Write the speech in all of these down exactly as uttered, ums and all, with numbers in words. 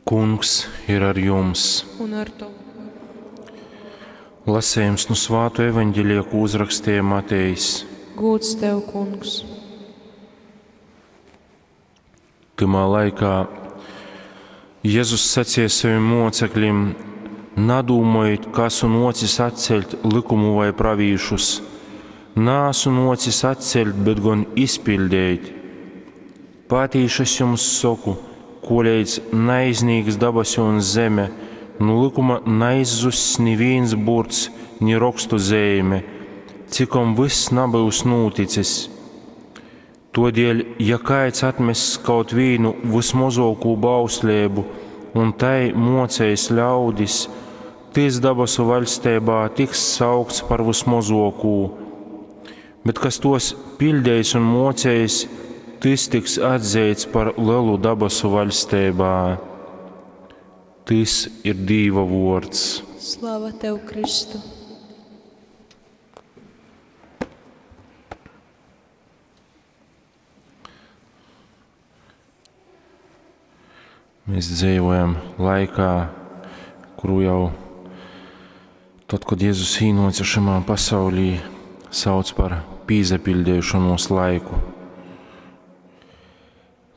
Kungs ir ar jums. Un ar tovu. Lasējums nu Svāto evaņģelija, ko uzrakstīja Matejs. Gūds tev, kungs. Tymā laikā Jezus sacīja saviem mocekļiem: Nadūmojit, ka esmu nocis atceļt likumu vai pravīšus. Nāsu nocis atceļt, bet gan izpildīt. Patīši es jums saku, koleidz naiznīks dabasi un zeme, nu likuma neizzuss nivīns burts, ni rokstu zīme, cikom viss nabyus nūticis. Todēļ, ja kāds atmess kaut vīnu vismozāko bauslību un tai mocējis ļaudis, tys dabasu vaļstībā tiks saukts par vismozākū. Bet kas tos pildējis un mocējis, tys tiks atzīts par lielu dabasu vaļstībā. Tys ir Dīva vārds. Slava tev, Kristu! Mēs dzīvojam laikā, kuru jau tad, kad Jēzus īnāca šajā pasaulī, sauc par pīzapildīšanos laiku.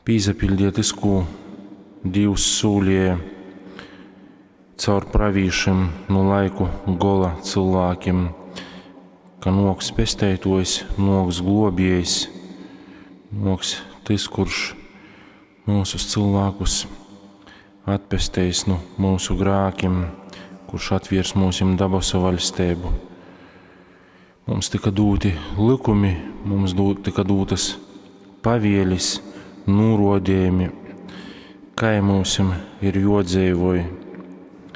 Pīzapildīja tas, ko Dievs sūlīja caur pravīšiem no laiku gola cilvēkiem, ka noks pesteitojs, noks globiejs, noks tas, kurš mūsu cilvēkus atpesteis no mūsu grākiem, kurš atviers mūsim dabasu vaļstību. Mums tika dūti likumi, mums dū, tika dūtas pavielis, nūrodījumi, kā mūsim ir jodzīvoj.